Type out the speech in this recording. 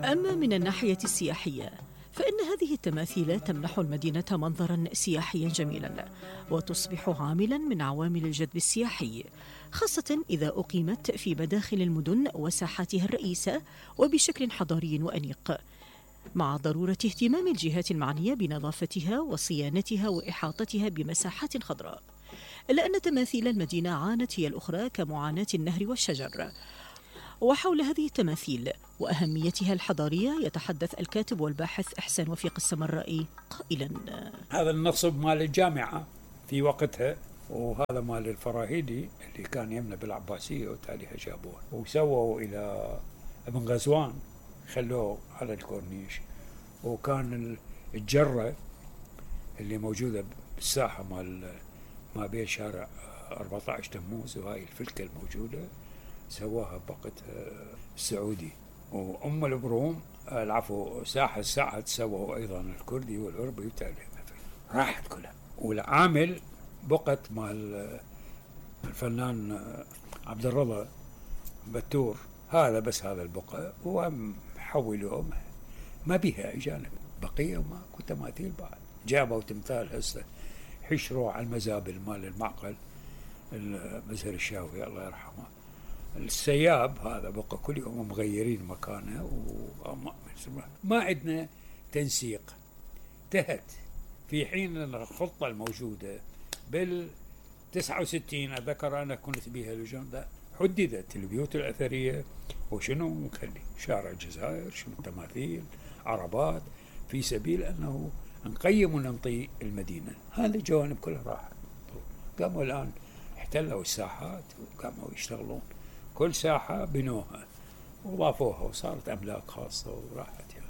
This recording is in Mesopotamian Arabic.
أما من الناحية السياحية فإن هذه التماثيل تمنح المدينة منظرا سياحيا جميلا وتصبح عاملا من عوامل الجذب السياحي، خاصة إذا أقيمت في مداخل المدن وساحاتها الرئيسة وبشكل حضاري وأنيق، مع ضرورة اهتمام الجهات المعنية بنظافتها وصيانتها وإحاطتها بمساحات خضراء. إلا أن تماثيل المدينة عانت هي الأخرى كمعاناة النهر والشجر. وحول هذه التماثيل وأهميتها الحضارية يتحدث الكاتب والباحث إحسان وفيق السمرائي قائلا: هذا النصب مال الجامعة في وقتها، وهذا مال الفراهيدي اللي كان يمنى بالعباسية وتاليها جابوه وسووا إلى ابن غزوان، خلوه على الكورنيش. وكان الجرة اللي موجودة بالساحة ما بين شارع 14 تموز وهاي الفلكة الموجودة سواها بوقت السعودي. وأم البروم العفو ساحة السعد سووا أيضا الكردي والعربي وتالي راحت كلها. والعامل بقت مال الفنان عبد الرضا بتور، هذا بس هذا البقى وهم حولوه ما بيها أجانب بقية وماكو تماثيل بعد. جابوا تمثال هسه حشروا على المزابل مال المعقل المزهر الشاوي الله يرحمه. السياب هذا بقى كل يوم مغيرين مكانه ما عندنا تنسيق. انتهت في حين الخطة الموجودة بال69 أذكر أنا كنت بها لجنة حددت البيوت الأثرية وشنو نخلي شارع الجزائر شنو تماثيل عربات في سبيل أنه نقيم وننطي المدينة. هذه الجوانب كلها راحت. قاموا الآن احتلوا الساحات وقاموا يشتغلون كل ساحة بنوها وضافوها وصارت أملاك خاصة وراحت يعني.